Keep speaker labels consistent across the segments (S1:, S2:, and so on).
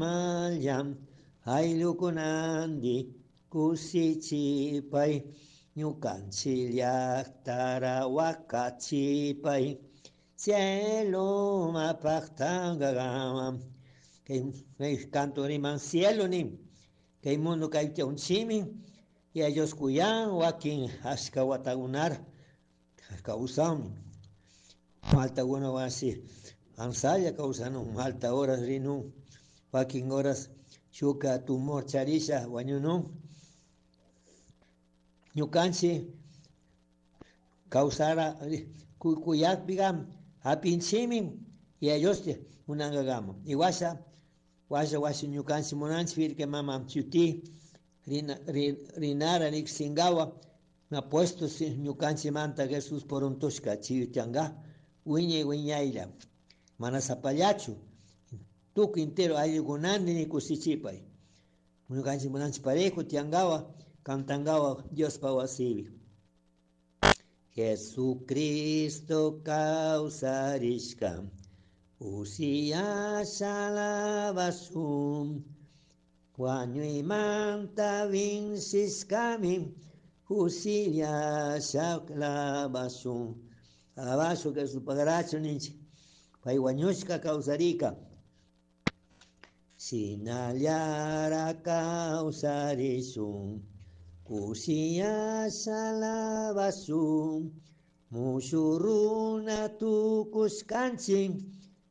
S1: Mallam ayllukunandi kusichipay ñukanchik llaqtara wakachipay cielo mapaqtangagama kay kay canto riman cielo nin kay mundo kayta unchimi y ellos kuyan wakin ashka watakunara kawsanmi maltakuna wasi ansalla kawsanun malta horas rinun wakin horas shuka tumor charisha wañunun ñukanchik kawsara kuyakpiqa hapinchikmi y ellos munankakama y washa washa washa ñukanchik munanchik Virgen mama shuti rina rinara riqsinkawa apuesto ñukanchikmanta Jesús puruntushka chiyuchanka wiñay wiñaylla mana sapallachu tukuy entero ayllukunandi kushichipay ñukanchik munanchik parejo tiyankawa cantankawa Diospa wasipi. Jesucristo kawsarishka usiyasha alabashun wañuymanta vincishkami kushillasha alabashun alabashun Jesús pagarachu ninchik pay wañushka kawsarika shinallara kawsarishun kushiyasha alabashun mushu runa tukushkanchik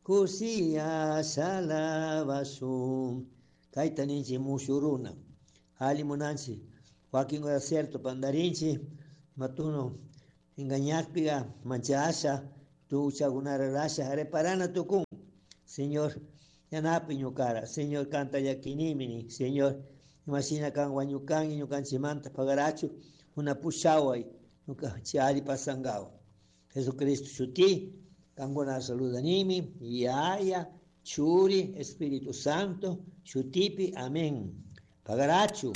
S1: kushiyasha alabashun kayta ninchik mushu runa alli munanchik wakin cierto pandarinchik matuno engañakpiqa manchasha tuchakunara rasha reparana tukun. Señor yanapi ñukara Señor kanta llakinimi Señor imashina kan wañukanki ñukanchikmanta pagarachu una pushaway ñuka alli pasankawa Jesucristo shuti kankuna saludanimi Yaya Churi Espíritu Santo shutipi amén. Pagarachu.